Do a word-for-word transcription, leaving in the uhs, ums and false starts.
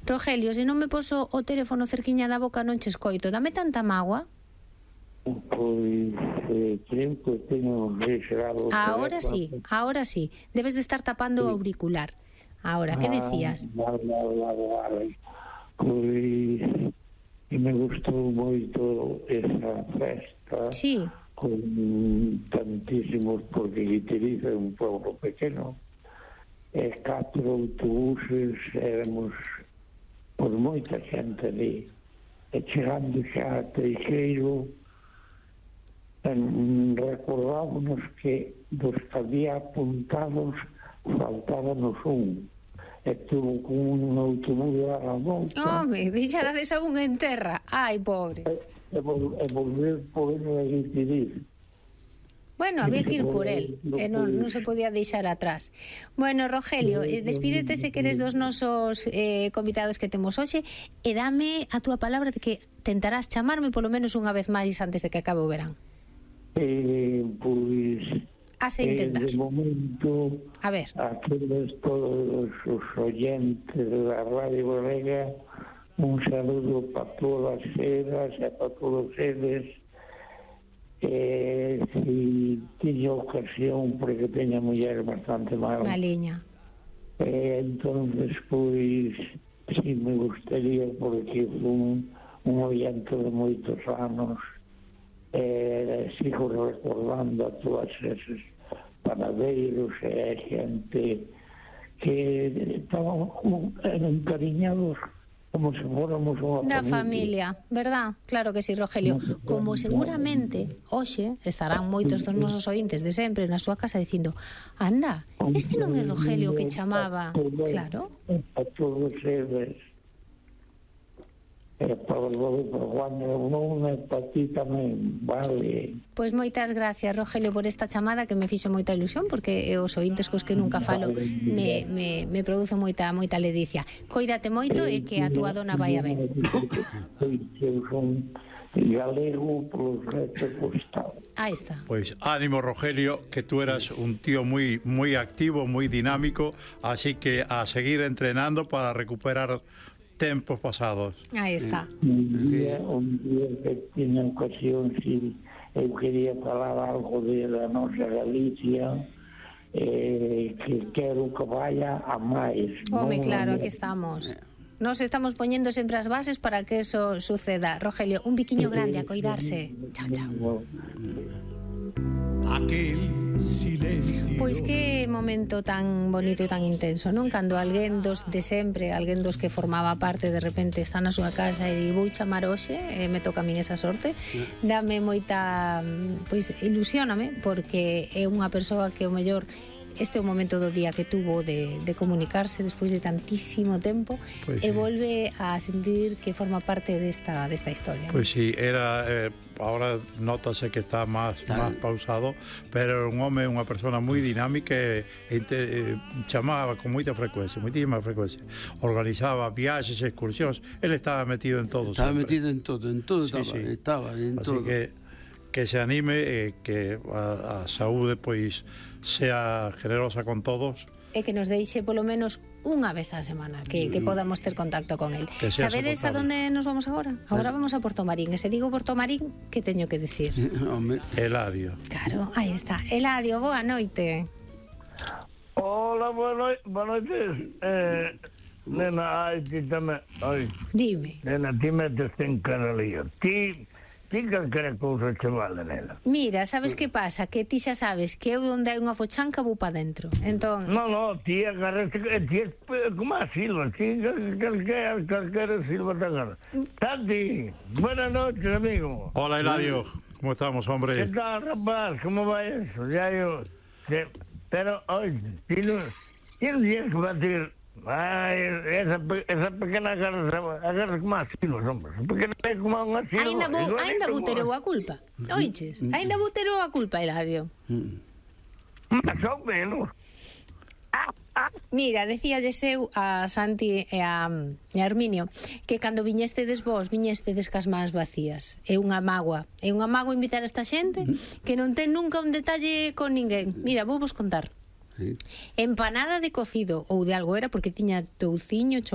Rogelio, se non me poso o teléfono cerquiña da boca non che escoito. Dame tanta mágoa. Pois eh, creo que teño reservado. Ahora sí, ahora sí. Debes de estar tapando o auricular. Ahora, que decías? Ah, vale, vale, vale. Pois que me gustou moito esa festa. Sí. Con tantísimos, porque Guitiriz é un pueblo pequeno. E catro autobuses, éramos por moita xente ali. E chegando xa a Teixeiro, recordámonos que dos que había apuntados faltábamos un. E tuvo con un autobús a la volta. Home, deixarades a un en terra. Ai, pobre. E, e, vol, e volver por ele a Guitiriz. Bueno, había que ir por él, e non, non se podía deixar atrás. Bueno, Rogelio, despídete se queres dos nosos eh, convidados que temos hoxe e dame a túa palabra de que tentarás chamarme polo menos unha vez máis antes de que acabe o verán. Eh, pois... Has a intentar. Eh, de momento, a ver, aqueles todos os oyentes da Radio Galega, un saludo para todas elas e para todos eles. Eh, si tiño ocasión, porque teña muller bastante mal. Maliña. Eh, entonces, pois, si me gustaría, porque fui un, un oyente de moitos anos, eh, sigo recordando a todas esos panadeiros e xente que estaban encariñados como se fóramos unha da familia, verdad? Claro que sí, Rogelio. Como seguramente hoxe estarán moitos dos nosos ointes de sempre na súa casa dicindo, anda, este non é Rogelio que chamaba. Claro. A todos eles. E para Juan non é para ti tamén, vale. Pois moitas gracias, Rogelio, por esta chamada que me fixo moita ilusión, porque os ointes cos que nunca falo me, me, me produzo moita moita ledicia. Coídate moito e que a túa dona vai a ben. Eu son galego polos restos costado. Aí está. Pois ánimo, Rogelio, que tú eras un tío moi moi activo, moi dinámico, así que a seguir entrenando para recuperar tempos pasados. Aí está. Un día, un día que tiña ocasión, si eu quería falar algo de la nosa Galicia, eh, que quero que vaya a máis. Home, claro, aquí estamos. Nos estamos poñendo sempre as bases para que eso suceda. Rogelio, un biquiño grande a coidarse. Chao, chao. Aquel silencio. Pois que momento tan bonito e tan intenso, non? Cando alguén dos de sempre, alguén dos que formaba parte, de repente está na súa casa e di, vou chamar hoxe, e me toca a min esa sorte, dame moita, pois ilusióname, porque é unha persoa que o mellor este é o momento do día que tuvo de, de comunicarse despois de tantísimo tempo, pues e sí, volve a sentir que forma parte desta, desta historia. Pois pues sí, era eh, ahora notase que está máis máis pausado, pero un home, unha persona moi dinámica e, e eh, chamaba con moita frecuencia, moitísima frecuencia. Organizaba viaxes, excursións, ele estaba metido en todo. Estaba sempre. metido en todo, en todo sí, estaba, sí. estaba en Así todo. que que se anime e que a, a saúde pois sea generosa con todos e que nos deixe polo menos unha vez á semana que, que podamos ter contacto con él. Sabedes a donde nos vamos agora? Agora vamos a Portomarín, e se digo Portomarín, que teño que decir? Eladio. Claro, aí está. Eladio, boa noite. Hola, boa noite, boa noite. Eh, nena, ai, ti tamén, ai. Dime. Nena, ti metes en caralío. Ti Ti calquera cousa che vale, nena. Mira, sabes que pasa? Que ti xa sabes que eu onde hai unha fochanca vou pa dentro. Entón... No, no, ti agarras, ti é como a Silva, ti calquera, calquera Silva te agarra. Santi, buenas noches, amigo. Hola, Eladio, ¿cómo estamos, hombre? ¿Qué tal, rapaz? ¿Cómo va eso? Ya yo... Te, pero, oye, ti non... Ti non tienes que batir... Ai, esa, esa pequena agarra, agarra como a silos, hombre. Pequena é como unha silo. Ainda, bo, ainda buterou a culpa. Oiches, ainda buterou a culpa, Eladio. Más ou menos. Mira, decíalles eu a Santi e a, e a Herminio que cando viñestedes vos, viñestedes cas mans vacías. É unha mágoa. É unha mágoa invitar a esta xente que non ten nunca un detalle con ninguén. Mira, vou vos contar. Sí. Empanada de cocido ou de algo era porque tiña touciño,